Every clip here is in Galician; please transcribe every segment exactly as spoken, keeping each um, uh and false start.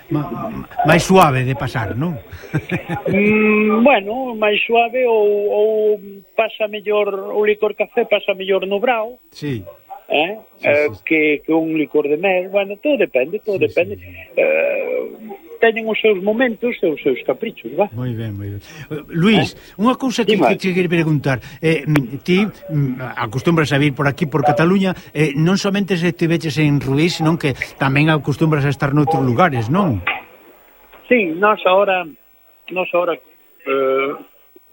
Ma, máis suave de pasar, non? mm, bueno, máis suave ou, ou pasa mellor o licor café, pasa mellor no brao. Sí. Eh? Sí, Eh, sí. Que, que un licor de mel, bueno, todo depende, todo Sí, depende. sí, sí. Eh, teñen os seus momentos e os seus caprichos, va? Moi ben, moi ben. Uh, Luís, eh? unha cousa que, que te quero preguntar. Eh, ti acostumbras a vir por aquí, por Cataluña, eh, non somente se te veches en Ruís, senón que tamén acostumbras a estar noutros lugares, non? Sí, nós ahora, nós ahora eh,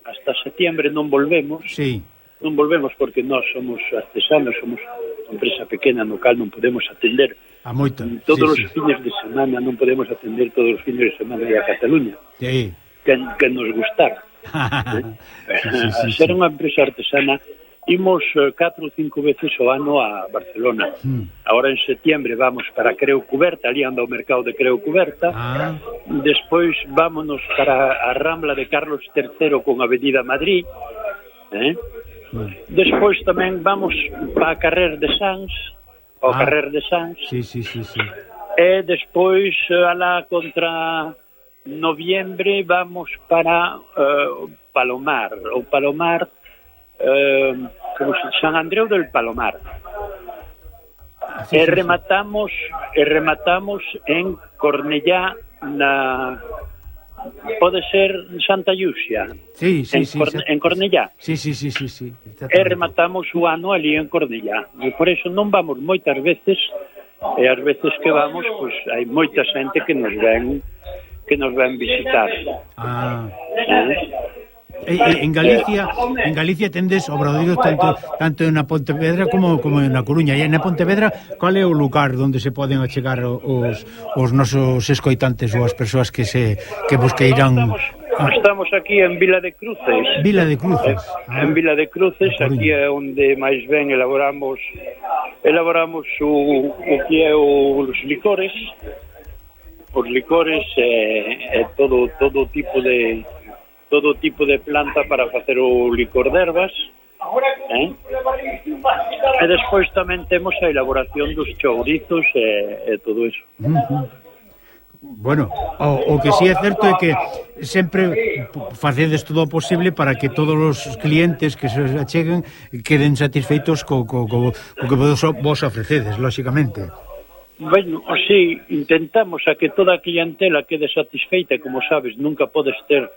hasta setiembre non volvemos. Sí. Non volvemos porque nós somos artesanos, somos unha empresa pequena no cal non podemos atender a moita. Todos sí, os sí. fines de semana non podemos atender todos os fines de semana a Cataluña. Sí. Que, que nos gustar. ¿eh? sí, sí, sí, a ser sí. unha empresa artesana imos catro ou cinco veces ao ano a Barcelona. Hmm. Ahora en setiembre vamos para Creu Cuberta, ali anda o mercado de Creu Cuberta. Ah. Despois vámonos para a Rambla de Carlos terceiro con Avenida Madrid. Eh? Hmm. Despois tamén vamos para a Carrer de Sans, ao ah. Carrer de Sans. Sí, sí, sí, sí. E despois alá contra noviembre vamos para uh, Palomar, o Palomar Uh, como se San Andreu del Palomar. Sí, e rematamos sí, sí. e rematamos en Cornellá na pode ser Santa Llucia. Sí, sí, en, sí, Corne... sí. en Cornellá. Sí, sí, sí, sí, sí. E rematamos o ano ali en Cornellá. E por eso non vamos moitas veces, e as veces que vamos, pois hai moita xente que nos ven que nos ven visitar. Ah. ¿Eh? En Galicia, en Galicia tendes obradoiros tanto tanto na Pontevedra como como na Coruña. E na Pontevedra, cal é o lugar onde se poden achegar os os nosos escoitantes ou as persoas que se que vos queiran? Estamos, estamos aquí en Vila de Cruces. Vila de Cruces. Ah, en Vila de Cruces, aquí é onde máis ben elaboramos elaboramos o, o que é os licores. Os licores e, e todo todo tipo de todo tipo de planta para facer o licor de ervas, eh? E despois tamén temos a elaboración dos chourizos e, e todo eso. Uh-huh. Bueno, o, o que sí é certo é que sempre facedes todo o posible para que todos os clientes que se acheguen queden satisfeitos co, co, co, co que vos, vos ofrecedes, lóxicamente. Bueno, sí, intentamos a que toda a clientela quede satisfeita, como sabes, nunca podes ter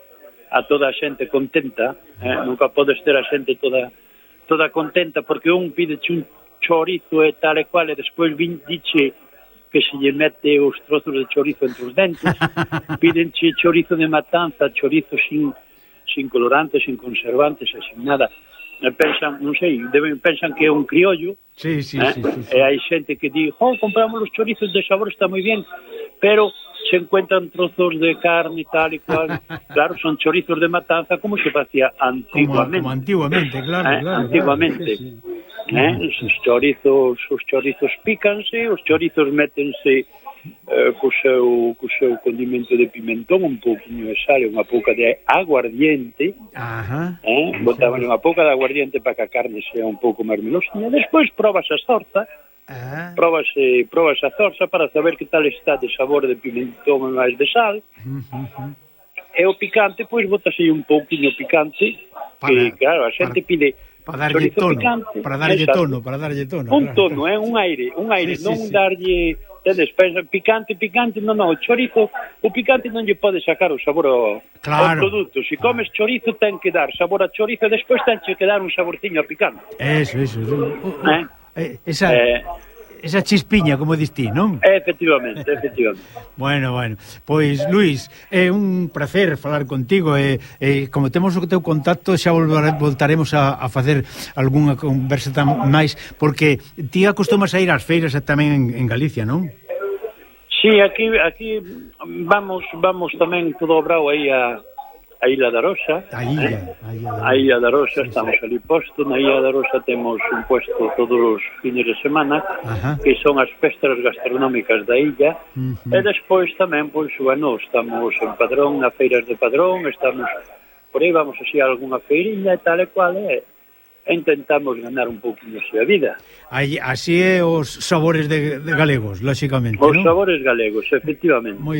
a toda a xente contenta, eh? Nunca podes ter a xente toda toda contenta, porque un pídeche un chorizo e tal e cual, e despois vin, diche que se lle mete os trozos de chorizo entre os dentes, pídenche chorizo de matanza, chorizo sin, sin colorantes, sin conservantes, sin nada. E pensan, non sei, deben, pensan que é un criollo, sí, sí, eh? sí, sí, sí. E hai xente que di, oh, compramos os chorizos de sabor, está moi bien, pero se encuentran trozos de carne e tal e cual. Claro, son chorizos de matanza como se facía antiguamente. Como, como antiguamente, claro, eh, claro. Antiguamente. Claro, sí, sí. Eh? Os chorizos, os chorizos pícanse, os chorizos métense eh, co seu, co seu condimento de pimentón, un pouquinho de sal e unha pouca de aguardiente. Ajá. Eh? Botaban unha pouca de aguardiente para que a carne sea un pouco máis melosinha. Despois probas a zorza. Ah. Probas, eh, probas a zorza para saber que tal está de sabor de pimentón e máis de sal. Uh -huh. E o picante, pois, botase un pouquinho picante, para, que, claro, a xente para, pide para darlle tono, picante, para darlle exacto. tono, para darlle tono. Un claro. tono, é eh, un aire, un aire, sí, non sí, darlle, tedes, pensa, picante, picante, non, non, o chorizo, o picante non lle pode sacar o sabor ao, claro. ao produto. Se comes chorizo, ten que dar sabor a chorizo, e despois ten que dar un saborciño a picante. Eso, eso. Eh? Esa, eh, esa chispiña, como dis ti, non? Efectivamente, efectivamente. Bueno, bueno, pois Luís, é un placer falar contigo e, e como temos o teu contacto xa voltaremos a, a facer algunha conversa tan máis, porque ti acostumas a ir ás feiras tamén en, en Galicia, non? Sí, aquí aquí vamos vamos tamén todo obrao aí a a Illa da Rosa, a Illa, eh? a Illa da Rosa, a Illa da Rosa, estamos ali posto, na Illa da Rosa temos un puesto todos os fines de semana, ajá, que son as festas gastronómicas da illa, uh -huh, e despois tamén, pois, bueno, estamos en Padrón, na feiras de Padrón, estamos por aí, vamos así a algunha feiriña e tal e cual, e, e intentamos ganar un pouquinho a vida. Aí, así é os sabores de, de galegos, lóxicamente, Os non? sabores galegos, efectivamente. Moi